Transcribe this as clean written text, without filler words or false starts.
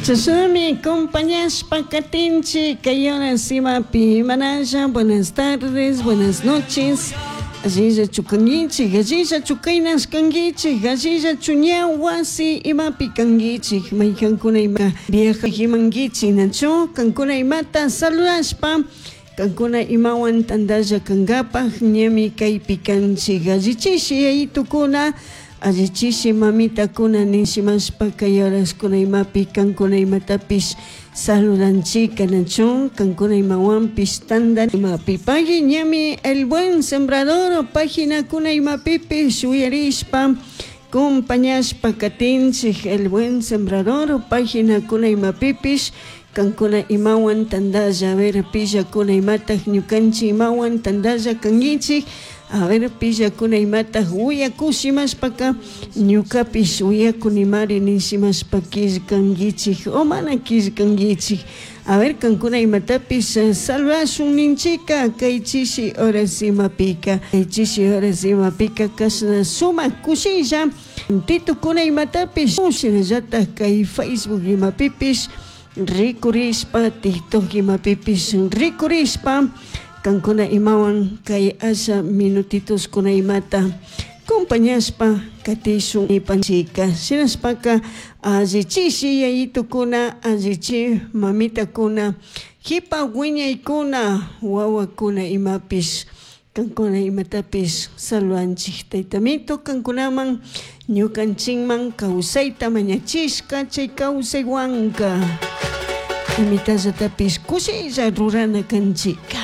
Chashnami compañashpa katinchik kay horas imapi manalla. Buenas tardes, buenas noches. Allillachu kanguichik, allillachu kaynash kanguichik, allillachu ña wasi imapi kanguichik, maykankuna ima viajajimanguichik, nachu kankuna imata saludashpa, kankuna imawan tantalla kankapaj ñami kaypi kanchik. Allichishi yayitukuna, allichishi mamitakuna nishimashpa kay horaskuna imapi kankuna imatapish saludanchika, nachu kankuna imawanpish tanda imapi. Pagui ñami El Buen Sembrador paginakuna imapipish uyarishpa compañashpa katinchik. El Buen Sembrador paginakuna imapipish kankuna imawan tantalla. A ver, pillakuna imataj ñukanchik imawan tantalla kanguichik. A ver, pillakuna imataj uyakushimashpaka ñukapish uyakunimari nishimashpa killkanguichik o mana killkanguichik. A ver, kankuna imatapish salvashun ninchika kay chishi horas imapika. Kay chishi horas imapika kashna sumak kushilla titukuna imatapish shinallatak kay Facebook imapipish rikurishpa, TikTok imapipish rikurishpa kankuna imawan kay asha minutitoskuna imata compañashpa katishun nipanchika. Shinashpaka allichishi yayitukuna, allichi mamitakuna, jipa wiñaykuna, wawakuna imapish kankuna imatapish saludanchik. Taytamito kankunaman ñukanchikman kawsayta mañachishka, chay kawsaywanka imitallatapish kushilla rurana kanchika.